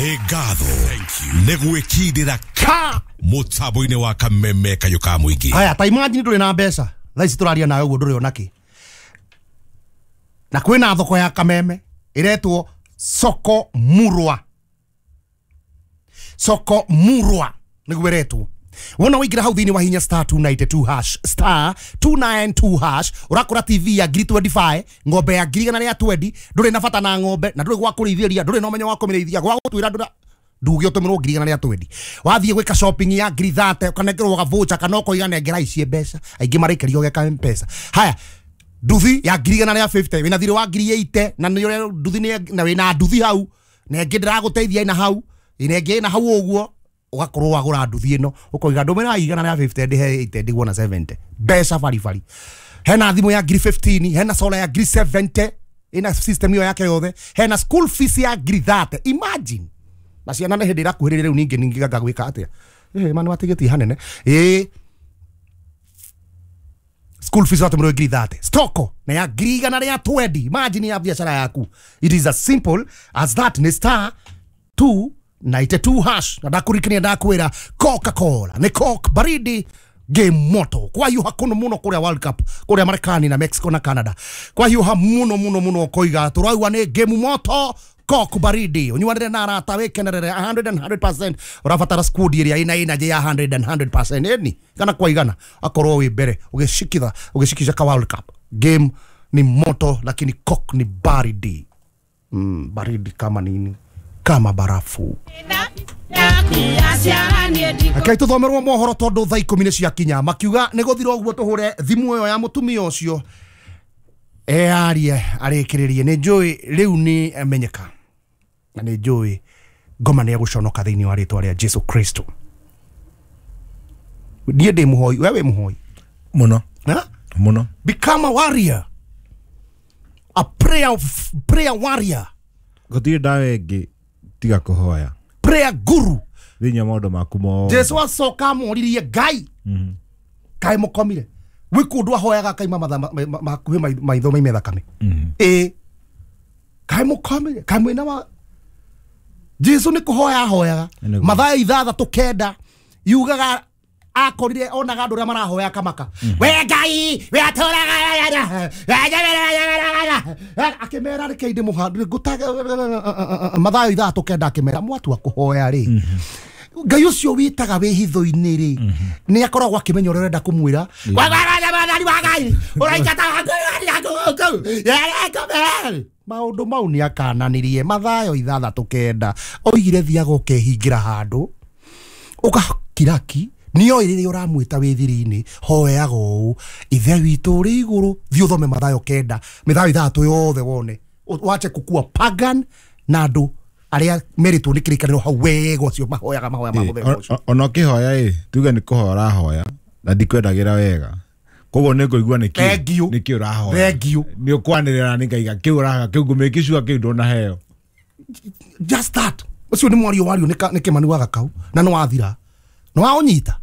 Nĩ ngatho nĩ gwĩkindĩra ka mũtambo-inĩ wa Kameme kayũ ka mũingĩ. Haya, ta imagine ndũrĩ na mbeca thaa ici tũraria nawe ũguo, ndũrĩ ona kĩ, na kwĩna thoko ya Kameme ĩretwo Soko Murwa. Soko Murwa nĩguo ĩretwo. Wona waingĩra hau thĩinĩ wa hinya star 292 hash, star 292 hash, ũrakũra TV ya ngiri 25, ng'ombe ya ngiri 120. Ndũrĩ na bata na ng'ombe na ndũrĩ gwa kũrĩithĩria, ndũrĩ na ũmenyo wa kũmĩrĩithia, gwa gũtwĩra ndũra nduge ũtũmĩrwo ngiri 120. Wathiĩ gwĩka shopping ya ngiri 30, ũkanengerwo gavoucher kana ũkoiga nengera ici mbeca. Aingĩ marekerio geka Mpesa. Haya, nduthi ya ngiri 150, wĩna thirĩ wa ngiri 80 na nĩ ũrĩa nduthi na wĩna nduthi hau na ĩngĩ ndĩragũteithia ĩna hau ĩna ĩngĩ ĩna hau ũguo, ũgakorwo wagũra nduthi ĩno, ũkoiga ndũmĩra 150 ndĩhe 80 ndigwo na 70 mbeca baribari. Hena thimũ ya ngiri 15, hena solar ya ngiri 70 ĩna system ĩyo yake yothe, hena school fees ya ngiri 30. Imagine, na ciana nĩ hĩndĩ ĩrakuhĩrĩria rĩu, ningĩ ningĩ ngagwĩka atĩa? Ma nĩ watigĩtie hanene. Ĩĩ, school fees watũmĩrwo ngiri 30, stoko na ya ngiri 120. Imagine ya biashara yaku. It is as simple as that. Nĩ star 292 hash. Na ndakurikania ndakwĩra Coca-Cola nĩ Coke baridi, game moto. Kwahiũha kũno mũno kũrĩa World Cup kũrĩa Marekani na Mexico na Canada, kwahiũha mũno mũno mũno, koiga tũraigua nĩ game moto. Coke baridi, ũnyuanĩre na arata, wĩkenerere 100 and 100%. Ũrabatara squad ĩrĩa ĩna energy ya 100 and 100%, ĩni kana kwa igana, akorwo wĩ mbere ũgĩcikitha ũgĩcikisha ka World Cup. Game ni moto, lakini Coke ni baridi, baridi kama nini? Kama barafu. Rekei tũthomerwo mohoro tondũ thaa 10 nĩ ciakinya. Makiuga nĩ gũthira ũguo, tũhũre thimũ ĩyo ya mũtumia ũcio earie arĩkĩrĩrie. Nĩ njũĩ rĩu nĩ amenyeka na nĩ njũĩ ngoma nĩ egũconoka thĩinĩ wa rĩtwa rĩa Jesu Kristo. Niĩ ndĩ mũhoi, we wĩ mũhoi? Muno. Ha? Muno. Become a warrior, a prayer warrior. Gũtirĩ ndawa ĩngĩ tiga kũhoya. Prayer guru. Thĩinĩ wa maũndũ maku mothe. Jesu acoka amoririe Ngai kaĩ mũkomire? Gwĩ kũndũ ahoyaga akaima mathaa makuhĩ maitho maime thakame. Ĩ kaĩ mũkomire? Kaĩ mwĩna wa Jesu nĩ kũhoya ahoyaga. Nĩguo. Mathaa 6 9 yugaga akorire onaga andũ arĩa marahoya kamaka, we Ngai we atũraga, akĩmera reke ndĩ mũhandu ngũtaga mathaa 6 9, akĩmera mwatua kũhoya rĩ, Ngai ũcio wĩtaga wĩ hitho-inĩ rĩ, nĩ akoragwo akĩmenya ũrĩa ũrenda kũmwĩra. Mwathani wa Ngai ũraingata maũndũ mau nĩ akananirie. Mathayo 6 9 oigire thiaga ũkehingĩra handũ ũgakiraki, nĩoĩ rĩrĩa ũramwĩta wĩ thiri-inĩ, hoyaga ũũ, Ithe witũ ũrĩ igũrũ. Thiĩ ũthome Mathayo 9, Mathayo 6 yothe wone. Wache kukua pagan na andũ arĩa merĩtwo nĩ kĩrĩkanĩro hau wega, ũcio mahoyaga mahoya ma mũthemba ũcio. Ona ũkĩhoya ĩ, tuge nĩ kũhoya ũrahoya na ndikwendagĩra wega, koguo nĩ ngũigua nĩkĩ Thank you. nĩkĩ ũrahoya. Thank you. Nĩ ũkwanĩrĩra nĩ ngaiga kĩu ũrahoya kĩu ngũmĩkicua kĩu ndũnaheo. Just that, ũcio nĩ mwario wario nĩ Kĩmani wa Gakau na nĩ wathira nĩ waũnyita.